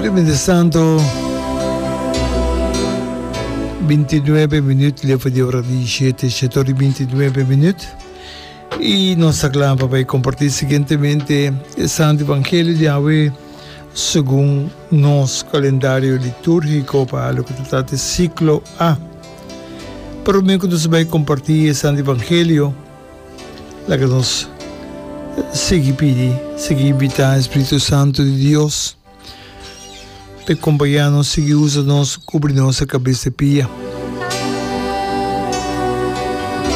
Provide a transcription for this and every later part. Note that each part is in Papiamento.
Pero mientrastanto, 29 minuut leva di ora di 7, 7 ora y 29 minuut. Y nos ta kla pa bai comparti siguientemente e Santo Evangelio di awe segun nos calendario liturgico pa loke ta trata e ciclo A. Prome cu nos bai comparti e Santo Evangelio, Laga nos sigui pidi, sigui invitá e Spiritu Santu di Dios pa e kompañá nos, sigui usa nos, kubri nos e kabes te pia.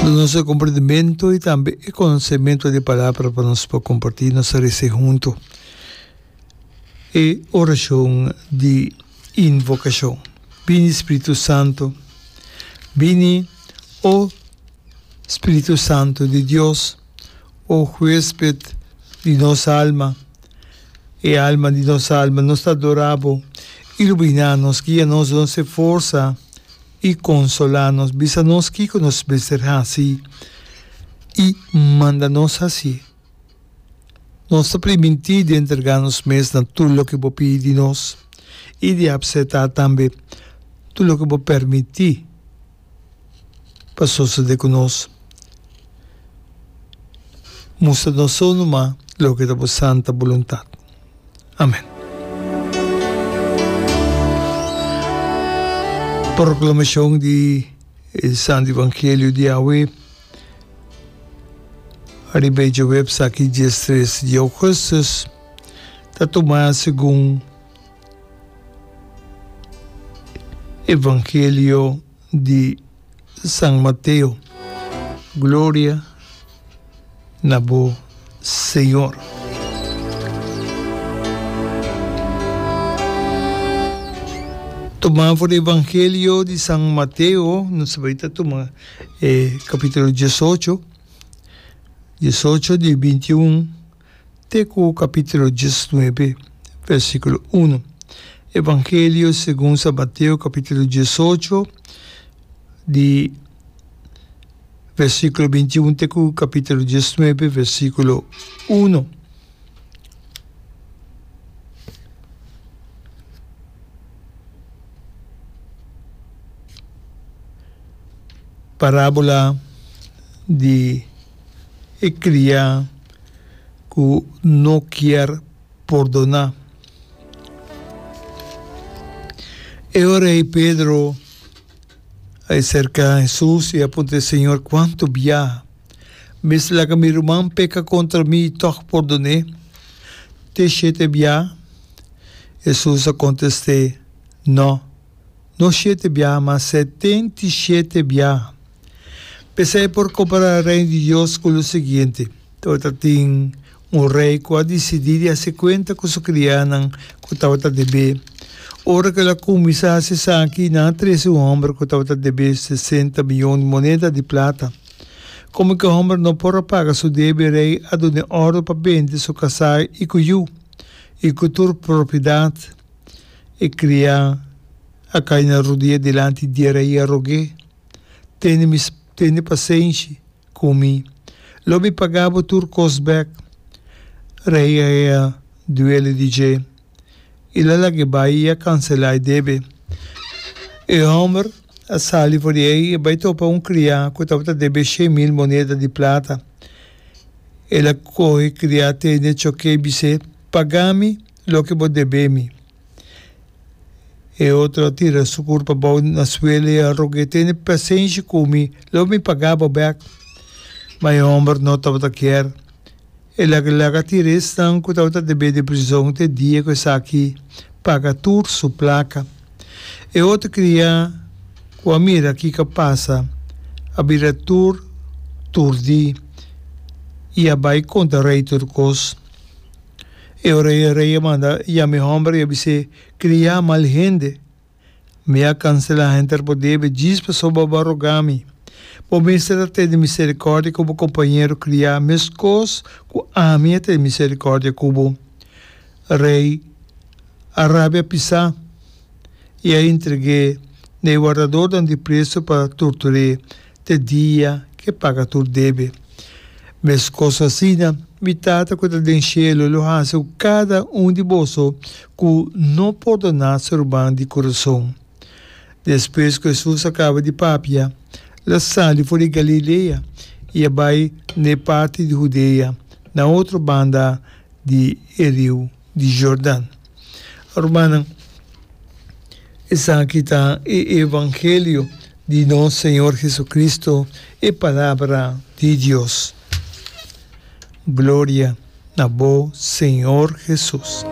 Duna nos e komprendimentu i tambe e konosementu di e Palabra pa nos por kompartí nos resa huntu e orashon di invokashon. Bini Spiritu Santu, bini, o. Spiritu Santu di Dios, o huesped di nos alma, e alma di nos alma, nos ta adorá bo. Iluminá nos, guia nos, duna nos e forsa i konsolá nos. Bisa nos kiko nos mester hasi i manda nos hasié. Nos ta primintí di entregá nos mes na tur loke bo pidi di nos i di apseptá tambe tur loke bo permití. pa sosode ku nos. Mustra nos so numa loke ta bo santa boluntat. Amen. Proklamashon di e Santo Evangelio di awe riba e djaweps aki diestres di augustus ta tuma segun Evangelio di San Mateo. Gloria na bo Señor. Tuma for di Evangelio di San Mateo, nos ta bai ta tuma e capítulo diesocho, diesocho di bintiun. Te ku kapítulo diesnuebe, versíkulo unu. Evangelio segun San Mateo kapítulo diesocho, di versíkulo bintiun te ku kapítulo diesnuebe, versíkulo unu. Parábola di e kriá. ku no kier pordoná. E ora ei Pedro a aserká Hesus i a puntra, Señor, kuantu biaha mester laga mi ruman peka kontra mi i tòg pordon'é? Te shete biaha? Hesus a kontest'é, Nò, no shete biaha, ma setentishete biaha. P'esei por kompará Reino di Dios ku lo siguiente, Tabata tin un rei ku a disidí di hasi kuenta ku su kriánan ku tabata deb'é. Ora ku el a kuminsá hasi esaki, nan a trese un hòmber ku tabata deb'é sesenta mion di moneda di plata. Komo ku e hòmber no por a paga su debe, e rei a dun'é òrdu pa bende su kasá i ku yu i ku tur propiedat. E kriá a kai na rudia dilanti di e rei i a rog'é, Tene mi, tene pasenshi ku mi. Lo mi paga bo tur kos bèk. Rei a hea duele di dje. I la lag'é bai i a kanselá e debe. E hòmber a sali for di ei i a bai topa un kriá ku tabata debe 100,000 moneda di plata. El a kohe e kriá tene chok'é i bis'é, Paga mi loke bo debe mi. E otro a tira su kurpa abou na suela i a rog'é, Tene pasenshi ku mi, lo mi paga bo bèk. Ma e hòmber no tabata kier. El a laga tira esnan ku tabata debé den prizon te dia ku esaki paga tur su plaka. E otro kriá ku a mira kiko a pasa a bira tur turdí i a bai konta rei tur kos. E ora e rei a manda yama e hòmber i a bis'é, Kriá mal hende, mi a kanselá henter bo debe djis pasobra bo a rogá mi. Bo mester a tene miserikòrdia ku bo kompañero kriá meskos ku ami a tene miserikòrdia ku bo. Rei a rabia pisá i a entreg'é na e wardadornan di preso pa tortur'é te dia ku e paga tur debe. Meskos asina. Mi Tata ku ta den shelu lo hasi ku kada un di boso ku no pordoná su ruman di kurason. Despues ku Hesus a kaba di papia, el a sali for di Galilea i a bai na e parti di Hudea, na otro banda di e riu di Jordan. Rumannan, esaki ta e evangelio di nos Señor Jesucristo, e Palabra di Dios. Gloria na bo, Señor Jesus.